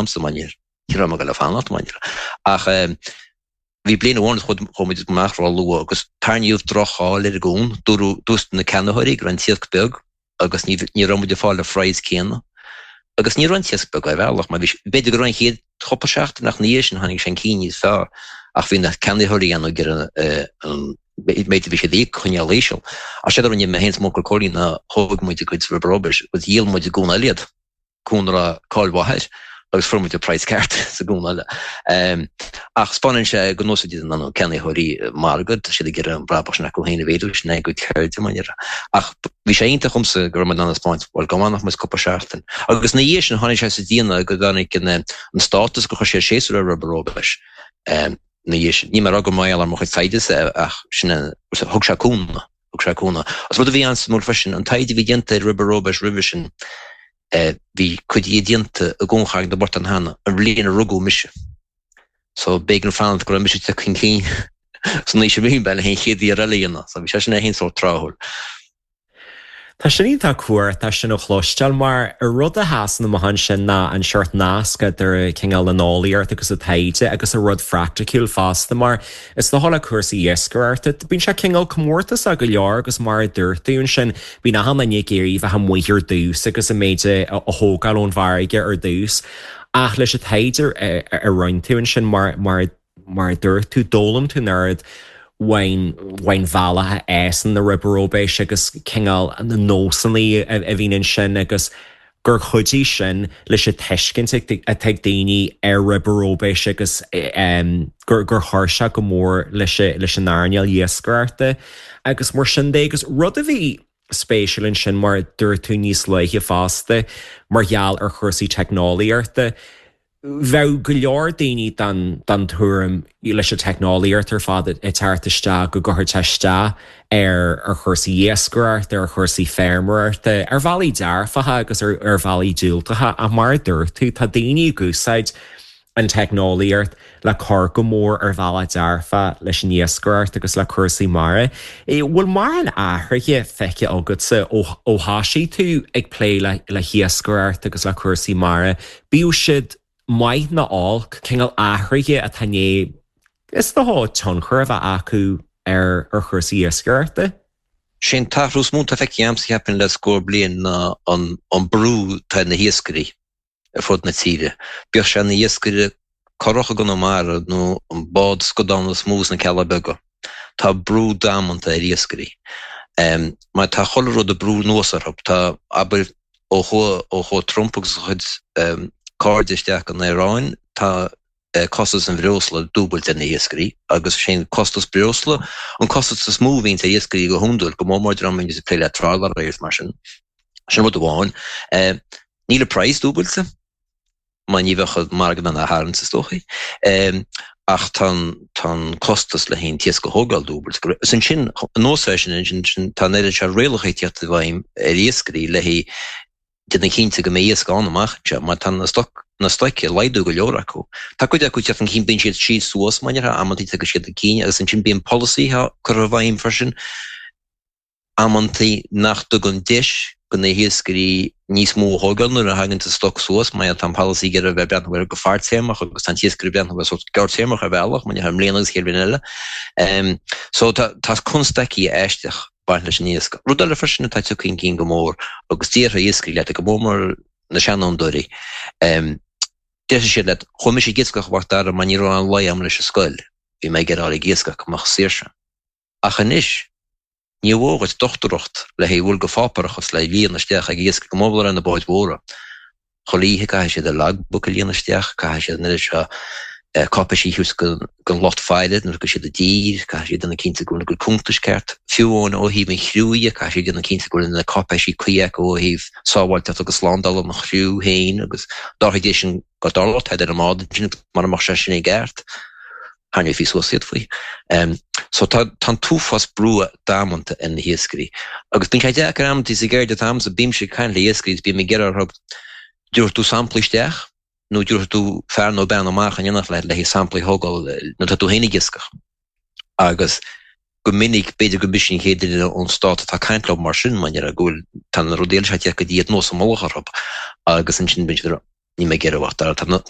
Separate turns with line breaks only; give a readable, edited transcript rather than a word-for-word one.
agamsa mar ní raibh mé ag dul a fanacht mar ach bhí bliain amháin chuaigh muid amach ró-luath agus tarraingíodh droch-cháil ar an gcuan, dúirt na ceannaitheoirí go raibh an t-iasc beag agus ní raibh muid ag fáil an phraghas céanna. Agus ní raibh an t-iasc beag ar bhealach mar bhí, b'fhéidir go raibh an chéad chúpla seachtain ach ina dhiaidh sin tháinig sé chun cinn níos fearr ach bhí na ceannaitheoirí ann ag iarraidh an méid a bhí siad a íoc a choinneáil íseal. Ach séard a rinne mé féin is m'uncail Cóilín ná thóg muid a gcuid riberóbais agus dhíol muid i gcuan eile iad. cuan a raibh cáil mhaith air agus fuair muid an praghas ceart sa gcuan eile. Ach 'spáineann sé go n-úsáideann na ceannaitheoirí margadh, tá siad ag iarraidh an brabach sin acu féin a mhéadú, sin é a gcuid ceirde mar a déarfá. Ach bhí sé iontach dhomsa go raibh muid in ann a 'spáint, bhuel, go bhfanfadh muid cúpla seachtain. Agus ina dhiaidh sin tháinig sé sa déanamh go dtáinig an stádas gur chuir siad séasúr ar riberóbais ina dhiaidh sin. Níl mé ag rá gur mar gheall ar mo chuid taighde-sa ach sin é, thug sé cúnamh. Thug sé cúnamh. Agus rud a bhí an-suimiúil freisin, an taighde a bhí déanta ar riberóbais roimhe sin, bhí cuid dhe déanta i gCuan Charraig na bPortán cheana, an bhliain a rugadh mise. So b'éigean fanacht go raibh mise tagtha chun cinn san aois a bhí mé le an chéad iarraidh eile a dhéanamh. So bhí sé sin é féin sórt tráthúil.
Tá sin iontach cumhachtach sin a chloisteáil mar an rud a sheasann amach ansin ná an seort nasc idir cineál an eolaíocht agus an taighde agus an rud phraiticiúil fosta mar is dócha le cúrsaí iascaireachta bíonn sé cineál comórtasach go leor agus mar a dúirt tú ansin bíonn achan duine ag iarraidh bheith amuigh ar dtús agus an méid a thógáil ón bhfarraige ar dtús ach leis an taighde a rinne tú ansin mar mar Mar a dúirt tú, d'fhoghlaim tú an oiread faoin bhealach a fhásann na riberóbais agus cineál na nósanna a bhíonn ansin agus gur chuidigh sin leis an tuiscint atá ag daoine ar riberóbais agus gur chuir sé go mór leis an earnáil iascaireachta agus mar sin de. Agus rud a bhí spéisiúil ansin, mar a dúirt tú níos luaithe fosta, mar gheall ar chúrsaí teicneolaíochta, Bheadh go leor daoine den tuairim leis an teicneolaíocht ar fad ag teacht isteach go gcuirfeadh sé isteach ar chúrsaí iascaireachta, ar chúrsaí feirmeoireachta, ar bhealaí dearfacha agus ar bhealaí diúltacha ach mar a dúirt tú, tá daoine ag úsáid an teicneolaíocht le cur go mór ar bhealach dearfach leis an iascaireacht agus le cúrsaí mara. Bhfuil mórán athraithe feicthe agatsa ó thosaigh tú ag plé le hiascaireacht agus le cúrsaí mara, bíodh siad maith nó olc, cineál athraithe atá i ndiaidh, is dócha, tionchar a bheith acu ar chúrsaí iascaireachta?
Sé an t-athrú is mó atá feicthe agamsa, cheapfainn, le scór bliain ná an brú atá ar na hiascairí. ar fud na tíre, bíodh sé ina iascaire curach i gConamara nó an bád scadán is mó sna Cealla Beaga. Tá brú damanta ar iascairí. Mar tá chuile rud ag brú anuas orthu. Tá, abair, ó chuaigh, ó chuaigh Trump agus a chuid cairde isteach an Iaráin, tá costas an bhreosla dúbailte ar na hiascairí agus sé an costas breosla an costas is mó a bhíonns ar iascairí go hiondúil, go mór mór dream a bhíonns ag plé le trálaeirí agus mar sin. Sin rud amháin. Níl an praghas dúbailte, mar ní bheadh an margadh in ann é a tharraingt is dóichí, ach tá an costas le haghaidh an t-iasc a thógáil dúbailte. Is ansin, anuas air sin, ansin tá an oiread seo rialacha ag tíocht i bhfeidhm ar iascairí le haghaidh déanamh cinnte go mbeidh iasc ann amach anseo, mar tá na stoc, na stoic ag laghdú go leor acu. Tá cuid acu ag tíocht chun cinn, bíonn siad síos suas, mar a déarfá, amantaí tagann siad chun cinn agus ansin bíonn polasaithe curtha i bhfeidhm freisin, amantaí nach dtugann deis go na hiascairí níos mó a thógáil nuair a thagann an stoc suas, mar tá an polasaí ag iarraidh a bheith ag breathnú air go fadtéarmach agus tá an t-iascaire ag breathnú air sórt gearrtéarmach ar bhealach, mar i mbliana agus an chéad bhliain eile. So tá tá constaicí aisteach ag baint leis an iasc. Rud eile freisin atá tagtha chun cinn go mór agus déarfaidh iascairí leat, go mór mór na seanfhondúirí, déarfaidh siad leat, chuaigh mise ag iascach a Mhac Dara mar ní raibh aon luí agam leis an scoil, bhí mé ag iarraidh dul ag iascach go mbeadh saoirse. Ach anois, Ní mhór dhuit dochtúireacht le haghaidh a dhul go pháipéarachas le líonadh isteach ag iascach go mór mór ar na báid mhóra. Chuile oíche caithfidh siad an logbook a líonadh isteach, caithfidh siad an oiread seo cáipéisí a thabhairt don lucht faire nuair a thagann siad i dtír, caithfidh siad déanamh cinnte go bhfuil a gcuid cuntais ceart. Fiú amháin ó thaobh an chriú dhe, caithfidh siad déanamh cinnte go bhfuil na cáipéisí cuí acu ó thaobh sábháilteacht agus slándála an chriú féin agus dá éis sin go dtarlódh tada ar an mbád ansin mura mbeadh sé sin i gceart. tharraingeofaí suas iad faoi. So tá an t-uafás brú damanta ar na hiascairí. Agus bíonn sé deacair amantaí sa gceird atá agamsa, bímse ag caint le iascairí is bím ag iarraidh orthu dtabharfaidh tú samplaí isteach nó dtabharfaidh tú fear nó bean amach in éineacht leat le haghaidh samplaí a thógáil nuair atá tú féin ag iascach. Agus go minic, b'fhéidir go mise an chéad duine ón stát atá ag caint leo mar sin, mar go bhfuil, tá na rudaí eile seo ag tíocht go dtí iad anuas i mullach orthu agus ansin bíonn siad ag rá, níl mé ag iarraidh a bheith, tá.